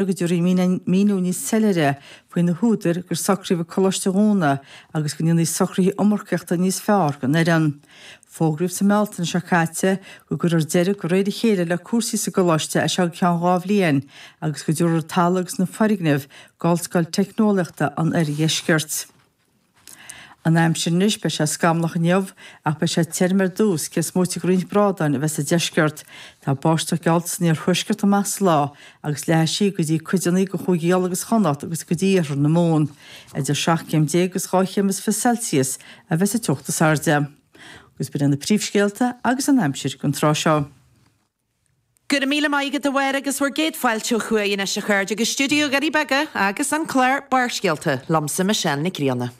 Go dtabharfaí míniú níos soiléire faoi na húdair gur socraíodh an coláiste a dhúnadh agus go ndéanfaí socruithe iomarcaíochta níos fearr don fhoireann. Fógraíodh sa mBealtaine seo caite go gcuirfear deireadh de réir a chéile le cúrsaí sa gcoláiste as seo go ceann 2 bhliain agus go dtabharfar an talamh agus na foirgnimh d'Ollscoil Teicneolaíochta an Oirdheiscirt. An aimsir anois, beidh sé scamallach inniu ach beidh sé tirim ar dtús, cé is móite de roinnt brádáin a bheith sa deisceart. Tá báisteach geallta san iarthuaisceart amach sa lá agus leathfaidh sí go dtí cuideanna de Chúigí Uladh agus Chonnacht agus go dtí iarthar na Mumhan. Idir 17 céim agus 12 chéim is 20 Celsius a bheas an teocht is airde. Agus b'in iad na príomhscéalta agus an aimsir don tráth seo. Go raibh míle maith agat a Mháire agus bhur gcéad fáilte ó thuaidh anois a chairde go stiúideo Dhoirí Beaga agus an clár Barrscéalta liomsa Michelle Nic Grianna.